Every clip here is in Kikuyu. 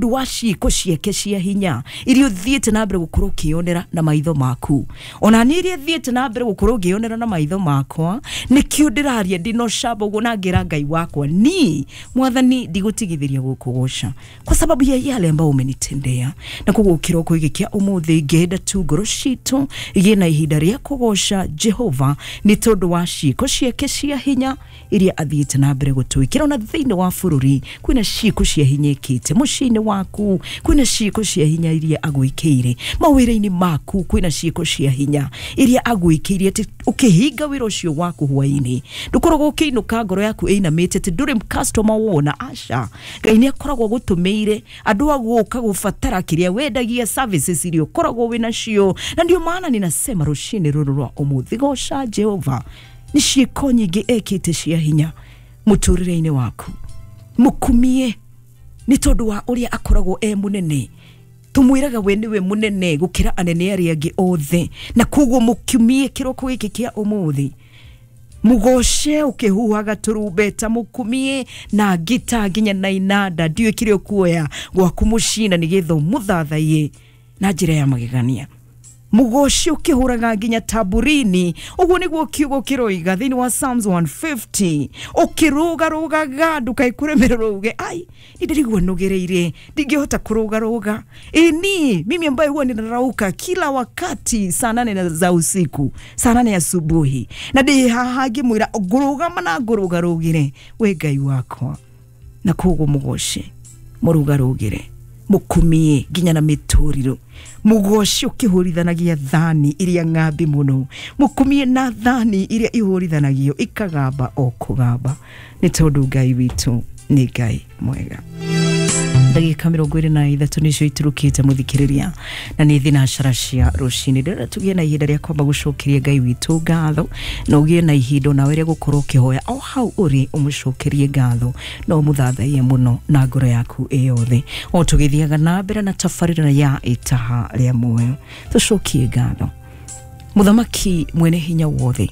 Wa ciĩko ciake cia hinya iria ũthiĩte na mbere gũkorwo ũkĩyonera na maitho maku, ona niĩ iria thiĩte na mbere gũkorwo ngĩyonera na maitho makwa, nĩkĩo ndĩraria ndĩna ũcamba ũguo na ngĩra Ngai wakwa, ni Mwathani, ndigũtigithĩria gũkũgoca kwa sababu ya yale ambayo umenitendea. Na koguo kĩroko gĩkĩ kĩa ũmũthĩ ngĩenda tu ngoro citũ igĩe na ihinda rĩa kũgoca Jehova nĩ tondũ wa ciĩko ciake cia hinya iria athiĩte na mbere gũtwĩkĩra. Ona thĩinĩ wa bũrũri kwĩna ciĩko cia hinya ĩkĩte, mũciĩ-inĩ waku kwĩna ciĩko cia hinya iria agwĩkĩire, mawĩra-inĩ maku kwĩna ciĩko cia hinya iria agwĩkĩire, atĩ ũkĩhinga wĩra ũcio waku hwaĩ-inĩ ndũkoragwo ũkĩinũka ngoro yaku ĩinamĩte atĩ ndũrĩ customer wona. Aca, Ngai nĩ akoragwo agũtũmĩire andũ a gũka gũbatara kĩrĩa wendagia, services iria ũkoragwo wĩnacio. Na ndio maana ninasema rũcinĩ rũrũ rwa ũmũthĩ, goca Jehova nĩ ciĩko nyingĩ ekĩte cia hinya mũtũrĩre-inĩ waku. Mũkumie nĩ tondũ wa ũrĩa akoragwo e mũnene. Tumwĩraga we nĩwe mũnene gũkĩra anene arĩa angĩ othe, na koguo mũkumie kĩroko gĩkĩ kĩa ũmũthĩ, mugoce ũkĩhuhaga tũrumbeta, mũkumie na ngita nginya na inanda. Ndiũĩ kĩrĩa ũkuoya gwaku mũciĩ na nĩgetha ũmũthathaiye na njĩra ya magegania. Mugoci ũkĩhũraga nginya tamburini, ũguo nĩguo kiugo kĩroiga thĩinĩ wa Psalms 150. Ũkĩrũgarũgaga ndũkaikũremererwo uge, "Ai, nĩ ndĩrigua nũgĩrĩire, ndingĩhota kũrũgarũga." Ĩni mimi ambaye huwa ninarauka kila wakati saa 8 za usiku, saa 8 asubuhi, na ndĩ haha ngĩmwĩra ngũrũgama na ngũrũgarũgĩre we Ngai wakwa. Na koguo mũgoce, mũrũgarũgĩre, mũkumie nginya na mĩtũrirũ, mũgoce ũkĩhũrithanagia thani iria ng'ambi mũno, mũkumie na thani iria ihũrithanagio ikagamba o kũgamba, nĩ tondũ Ngai witũ nĩ Ngai mwega. Ndagĩka 23 nĩcio iturukĩte, mũthikĩrĩria, na nĩ thinacara cia rũcinĩ. Ndĩrenda tũgĩe na ihinda rĩa kwamba gũcokeria Ngai witũ ngatho, na ũgĩe na ihinda onawe rĩa gũkorwo ũkĩhoya o hau ũrĩ, ũmũcokerie ngatho na ũmũthathaiye mũno na ngoro yaku ĩ yothe, o tũgĩthiaga na mbere na tabarĩra ya Itaha rĩa Muoyo. Tũcokie ngatho. Mũthamaki mwene hinya wothe,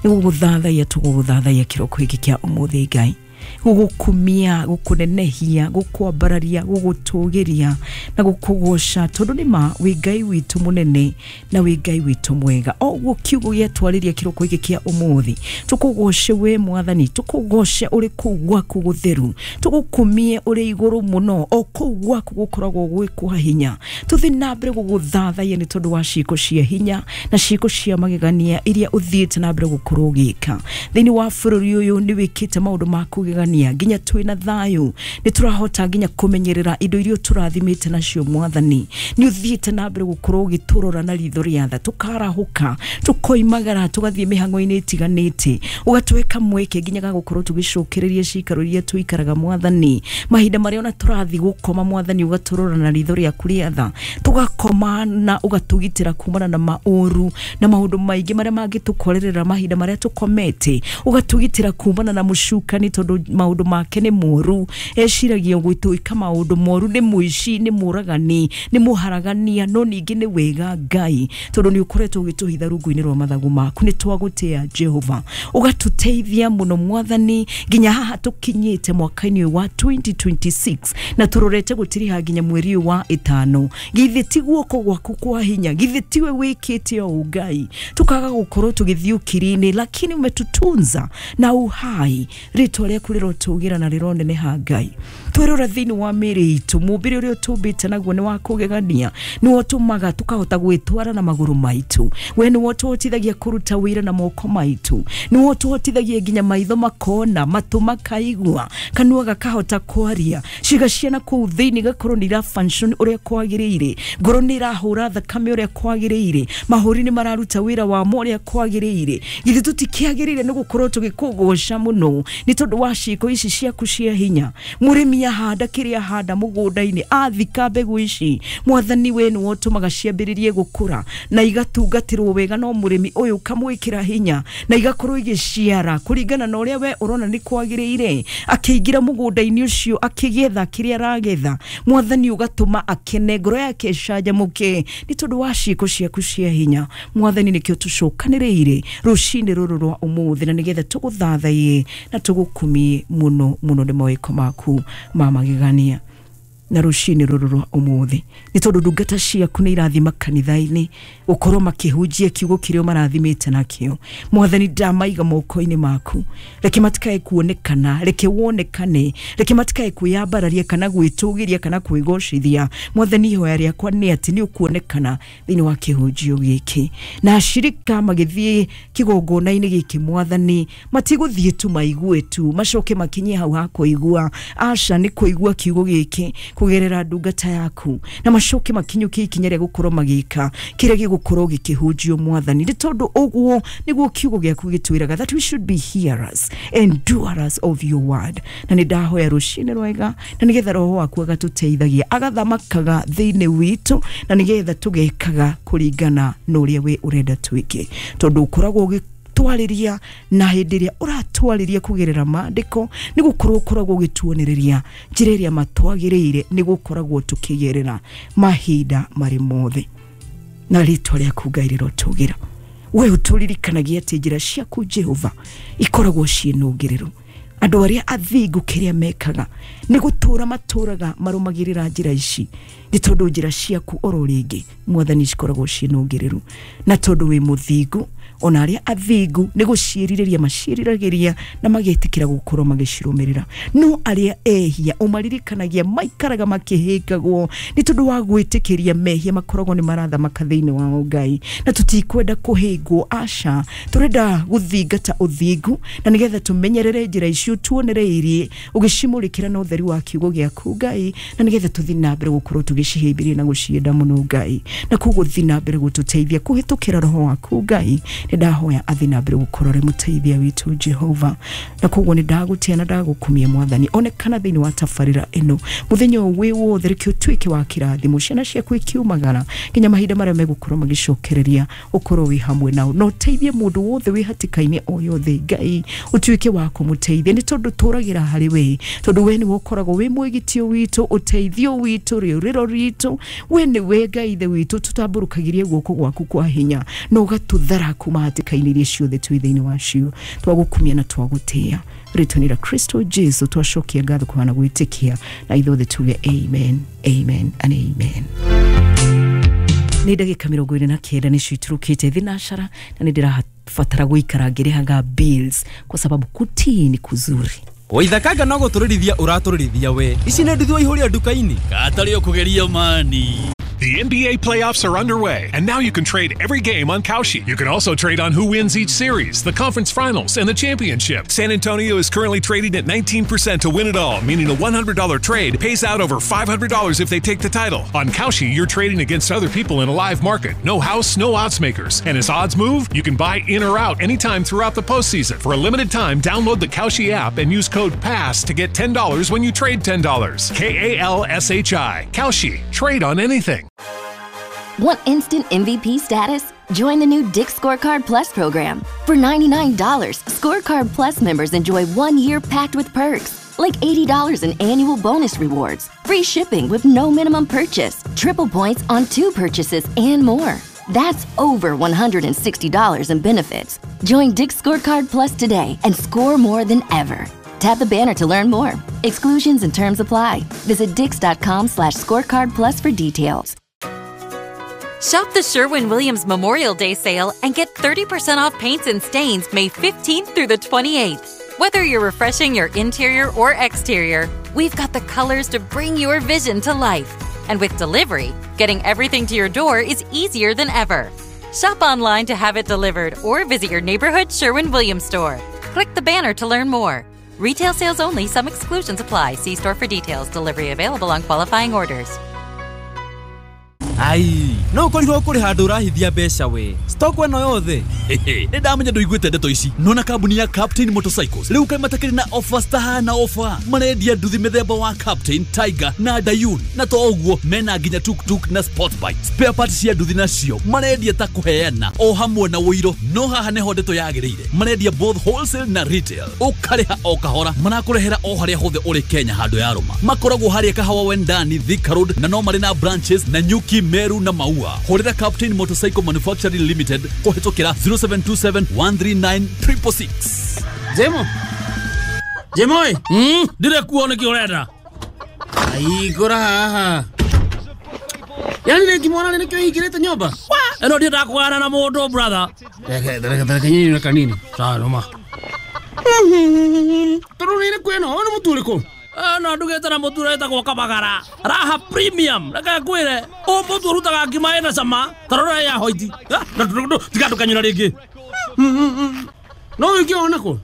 nĩ gũgũthathaiya tũgũgũthathaiya kĩroko gĩkĩ kĩa ũmũthĩ, Ngai, gũgũkumia, gũkũnenehia, gũkwambararia, gũgũtũgĩria na gũkũgoca, tondũ nĩ ma wĩ Ngai witũ mũnene na wĩ Ngai witũ mwega. O ũguo kiugo gĩatwarĩria kĩroko gĩkĩ kĩa ũmũthĩ, tũkũgoce we Mwathani, tũkũgoce ũrĩ kũu gwaku gũtheru, tũgũkumie ũrĩ igũrũ mũno, o kũu gwaku gũkoragwo gwĩ kwa hinya. Tũthiĩ na mbere gũgũthathaiya nĩ tondũ wa ciĩko cia hinya na ciĩko cia magegania iria ũthiĩte na mbere gũkorwo ũgĩka thĩinĩ wa bũrũri ũyũ. Nĩ wĩkĩte maũndũ ma kũgegania, nginya twĩna thayũ, nĩ tũrahota nginya kũmenyerera indo iria ũtũrathimĩte nacio. Mwathani, nĩ ũthiĩte na mbere gũkorwo ũgĩtũrora na ritho rĩa tha, tũkarahũka, tũkoimagara, tũgathiĩ mĩhang'o-inĩ ĩtiganĩte, ũgatũhe kamweke nginya ga gũkorwo tũgĩcokereria cikaro iria tũikaraga. Mwathani, mahinda marĩa ona tũrathiĩ gũkoma, Mwathani, ũgatũrora na ritho rĩaku rĩa tha, tũgakoma na ũgatũgitĩra kumana na maũru na maũndũ maingĩ marĩa mangĩtũkorerera mahinda marĩa tũkomete, ũgatũgitĩra kumana na mũcukani, tondũ maũndũ make nĩ moru, eciragia gwĩtwĩka maũndũ moru, nĩ mũici, nĩ mũragani, nĩ mũharagania. No ningĩ nĩ wega, Ngai, tondũ nĩ ũkoretwo ũgĩtũhitha rungu-inĩ rwa mathagu maku. Nĩ twagũtĩa, Jehova, ũgatũteithia mũno, Mwathani, nginya haha tũkinyĩte mwaka-inĩ ũyũ wa 2026 na tũrorete gũtiriha nginya mweri ũyũ wa ĩtano. Githĩ ti guoko gwaku kwa hinya? Githĩ tiwe wĩkĩte ũũ, Ngai, tukaga gũkorwo tũgĩthiĩ ukiri-inĩ, lakini umetutunza na uhai. Rĩtwa rĩaku rĩrotũgĩra na rĩroneneha, Ngai. Twĩrora thĩinĩ wa mĩĩrĩ itũ, mũmbĩre ũrĩa ũtũmbĩte naguo nĩ wa kũgegania, nĩwe ũtũmaga tũkahota gwĩtwara na magũrũ maitũ. We nĩwe ũtũhotithagia kũruta wĩra na moko maitũ, nĩwe ũtũhotithagia nginya maitho makona, matũ makaigua, kanua gakahota kwaria, ciĩga ciana kũu thĩinĩ gakorwo nĩ ira function ũrĩa kwagĩrĩire, ngoro nĩ ĩrahũra thakame ũrĩa kwagĩrĩire, mahũri nĩ mararuta wĩra wamo ũrĩa kwagĩrĩire. Githĩ tũtikĩagĩrĩire nĩ gũkorwo tũgĩkũgoca mũno nĩ tondũ wa ciĩko ici ciaku cia hinya? Mũrĩmi ahanda kĩrĩa ahanda mũgũnda-inĩ, athika mbegũ ici, Mwathani, we nĩwe ũtũmaga ciambĩrĩrie gũkũra na igatungatĩrwo wega, no mũrĩmi ũyũ ũkamwĩkĩra hinya na igakorwo igĩciara kũringana na ũrĩa we ũrona nĩ kwagĩrĩire. Akĩingĩra mũgũnda-inĩ ũcio, akĩgetha kĩrĩa aragetha, Mwathani, ũgatũma akene, ngoro yake ĩcanjamũke nĩ tondũ wa ciĩko ciaku cia hinya. Mwathani, nĩkĩo tũcokanĩrĩire rũcinĩ rũrũ rwa ũmũthĩ, na nĩgetha tũgũthathaiye na tũgũkumie mũno mũno nĩ mawĩko maku ma magegania. Na rũcinĩ rũrũ rwa ũmũthĩ nĩ tondũ ndungata ciaku nĩ irathiĩ makanitha-inĩ gũkorwo makĩhunjia kiugo kĩrĩa marathimĩte nakĩo. Mwathani, ndamaiga moko-inĩ maku, reke matikae kuonekana, reke wonekane, reke matikae kwĩyambararia kana gwĩtũgĩria kana kwĩgocithia. Mwathani, ihoya rĩakwa nĩ atĩ nĩ ũkuonekana thĩinĩ wa kĩhunjio gĩkĩ, na ashirika magĩthiĩ kĩgongona-inĩ gĩkĩ, Mwathani, matigũthiĩ tu maigue tu macoke makinyie hau ha kũigua. Aca, nĩ kũigua kiugo gĩkĩ kũgerera ndungata yaku na macoke makinyũkie ikinya rĩa gũkorwo magĩka kĩrĩa gĩgũkorwo gĩkĩhunjio. Mwathani, nĩ tondũ ũguo nĩguo kiugo gĩaku gĩtwĩraga, that we should be hearers and doers of your word. Na nĩ ndahoya rũcinĩ rwega na nĩgetha Roho waku agatũteithagia, agathamakaga thĩinĩ witũ, na nĩgetha tũgekaga kũringana na ũrĩa we ũrenda twĩke, tondũ ũkoragwo ũgĩtwarĩria, na hĩndĩ ĩrĩa ũratwarĩria kũgerera maandĩko nĩ gũkorwo ũkoragwo ũgĩtuonereria njĩra ĩrĩa matwagĩrĩire nĩ gũkoragwo tũkĩgerera mahinda marĩ mothe. Na rĩtwa rĩaku, Ngai, rĩrotũgĩra. We ũtũririkanagia atĩ njĩra ciaku, Jehova, ikoragwo ciĩ nũngĩrĩru. Andũ arĩa athingu kĩrĩa mekaga nĩ gũtũra matũraga marũmagĩrĩra njĩra ici, nĩ tondũ njĩra ciaku oro rĩngĩ, Mwathani, cikoragwo ciĩ nũngĩrĩru. Na tondũ wĩ mũthingu, ona arĩa athingu nĩ gũciĩrirĩria maciĩriragĩria na magetĩkĩra gũkorwo magĩcirũmĩrĩra. No arĩa ehia ũmaririkanagia maikaraga makĩhĩngagwo nĩ tondũ wa gwĩtĩkĩria mehia makoragwo nĩ marathamaka thĩinĩ wao. Ngai, na tũtikwenda kũhĩngwo, aca, tũrenda gũthingata ũthingu na nĩgetha tũmenyerere njĩra icio tuonereirie ũgĩcimũrĩkĩra na ũtheri wa kiugo gĩaku, Ngai, na nĩgetha tũthiĩ na mbere gũkorwo tũgĩcihĩmbĩria na gũcienda mũno, Ngai. Na koguo thiĩ na mbere gũtũteithia kũhĩtũkĩra Roho waku. Ngai, nĩ ndahoya athiĩ na mbere gũkorwo arĩ mũteithia witũ, Jehova. Na koguo nĩ ndagũtĩa na ndagũkumia. Mwathani, onekana thĩinĩ wa tabarĩra ĩno mũthenya ũyũ wĩ wothe, reke ũtuĩke wa kĩrathimo, ciana ciaku ikiumagara nginya mahinda marĩa megũkorwo magĩcokereria, ũkorwo wĩ hamwe nao, na ũteithie mũndũ wothe wĩ hatĩka-inĩ o yothe. Ngai, ũtuĩke wa kũmũteithia, nĩ tondũ tũragĩra harĩ we, tondũ we nĩwe ũkoragwo wĩ mwĩgitio witũ, ũteithio witũ, rĩũrĩro ritũ. We nĩwe Ngai Ithe witũ, tũtambũrũkagĩrie guoko gwaku kwa hinya na ũgatũthara kuma hatĩka-inĩ iria ciothe twĩ thĩinĩ wacio. Twagũkumia na twagũtĩa rĩtwa-inĩ rĩa Kristo Jesu twacokia ngatho kũhana gwĩtĩkia, na ithuothe tuge amen, amen and amen. Nĩ ndagĩka 49 nĩcio iturukĩte thinacara, na nĩ ndĩrabatara gũikara ngĩrĩhaga bills kwa sababu kutii ni kuzuri. Waithakanga no gũtũrĩrithia ũratũrĩrithia we. Ici nĩ nduthi waihũria nduka-inĩ. Katarĩ ũkũgeria mani. The NBA playoffs are underway, and now you can trade every game on Kalshi. You can also trade on who wins each series, the conference finals, and the championship. San Antonio is currently trading at 19% to win it all, meaning a $100 trade pays out over $500 if they take the title. On Kalshi, you're trading against other people in a live market. No house, no odds makers. And as odds move, you can buy in or out anytime throughout the postseason. For a limited time, download the Kalshi app and use code PASS to get $10 when you trade $10. Kalshi. Kalshi. Trade on anything. Want instant MVP status? Join the new Dick's Scorecard Plus program. For $99, Scorecard Plus members enjoy 1 year packed with perks, like $80 in annual bonus rewards, free shipping with no minimum purchase, triple points on two purchases, and more. That's over $160 in benefits. Join Dick's Scorecard Plus today and score more than ever. Tap the banner to learn more. Exclusions and terms apply. Visit dicks.com/scorecard plus for details. Shop the Sherwin Williams Memorial Day sale and get 30% off paints and stains May 15th through the 28th. Whether you're refreshing your interior or exterior, we've got the colors to bring your vision to life. And with delivery, getting everything to your door is easier than ever. Shop online to have it delivered or visit your neighborhood Sherwin Williams store. Click the banner to learn more. Retail sales only, some exclusions apply. See store for details. Delivery available on qualifying orders. Ai, no ũkorirwo kũrĩ handũ ũrahithia mbeca we. Stock ĩno yothe. Nĩ ndamenya ndũiguĩte ndeto ici. Nona kambuni ya Captain Motorcycles rĩu kaĩ matakĩrĩ na offers tahana offer. Marendia nduthi mĩthemba wa Captain, Tiger na Dayun, na to ũguo mena nginya tuktuk na sport bike. Spare parts cia nduthi nacio marendia ta kũheana o hamwe na ũiro. No haha nĩho ndeto yagĩrĩire, marendia both wholesale na retail, ũkarĩha o kahora, marakũrehera o harĩa hothe ũrĩ Kenya handũ ya rũma. Makoragwo harĩa Kahawa Wendani, Thika Road, na no marĩ na branches na Nyuki, Meru na Maua. Hũrĩra Captain Motorcycle Manufacturing Limited kũhĩtũkĩra 0727 139 666. Jemo. Jemo ĩ. Ndirĩ kuo nĩkĩ ũrenda? Hingũra haha. Yani rĩngĩ mwana nĩkĩo hingĩrĩte nyũmba. Ĩno ndiendaga kũgana na mũndũ brother. Reke nyinyi kanini. Sawa noma. Tondũ nĩ kwĩna ũyũ nĩ mũtu ũrĩkũ? No ndugĩte na mũtu ũretagwo Kabagara. Raha Premium. Reke ngwĩre, ũyũ mũtu ũrutaga ngima ĩna cama, ta rora ya hoiti. Tiga ndũkanyũra rĩngĩ. No ũngĩona kũ?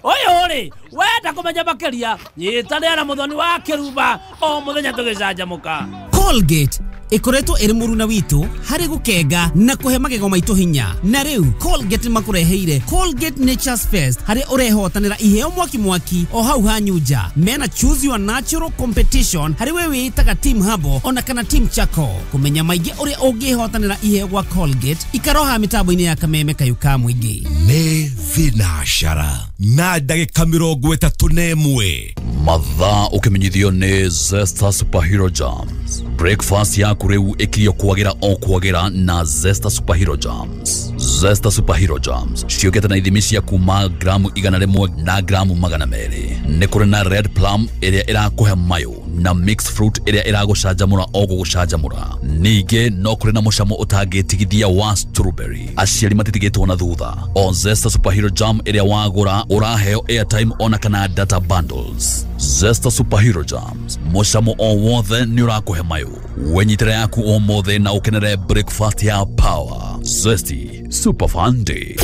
Ũyũ rĩ, wenda kũmenya makĩria, nyitanĩra na Mũthoni wa Kĩrumba o mũthenya tũgĩcanjamũka. Colgate ikoretwo ĩrĩ mũruna witũ harĩ gũkenga na kũhe magego maitũ hinya. Na rĩu Colgate makũreheire Colgate Nature's Fest harĩ ũrehotanĩra iheo mwaki mwaki o hau hanyu nja. Mena Choose Your Natural Competition harĩ we wĩĩtaga Team Habo ona kana Team Chako. Kũmenya maingĩ ũrĩa ũngĩhotanĩra iheo gwa Colgate ikaroha mĩtambo-inĩ ya kameme kayu ka mũingĩ. Nĩ thinacara na ndagĩka 31. Mathaa ũkĩmenyithio nĩ Zesta Superhero Jams. Breakfast yaku rĩu ĩkirio kwagĩra o kwagĩra na Zesta Superhero Jams. Zesta Superhero Jams ciũkĩte na ithimi cia kuma gramu 100 na gramu 200. Nĩ kũrĩ na red plum ĩrĩa ĩrakũhe mayo na mixed fruit ĩrĩa ĩragũcanjamũra o gũgũcanjamũra. Ningĩ no kũrĩ na mũcamo ũtangĩtigithia wa strawberry. Aciari matitigĩtwo na thutha. O Zesta Superhero Jam ĩrĩa wagũra ũraheo airtime ona kana data bundles. Zesta Superhero Jams, mũcamo o wothe nĩ ũrakũhe mayo. Wenyitĩra yaku ũmũthĩ na ũkenere breakfast ya power. Zesty Super Fun Day.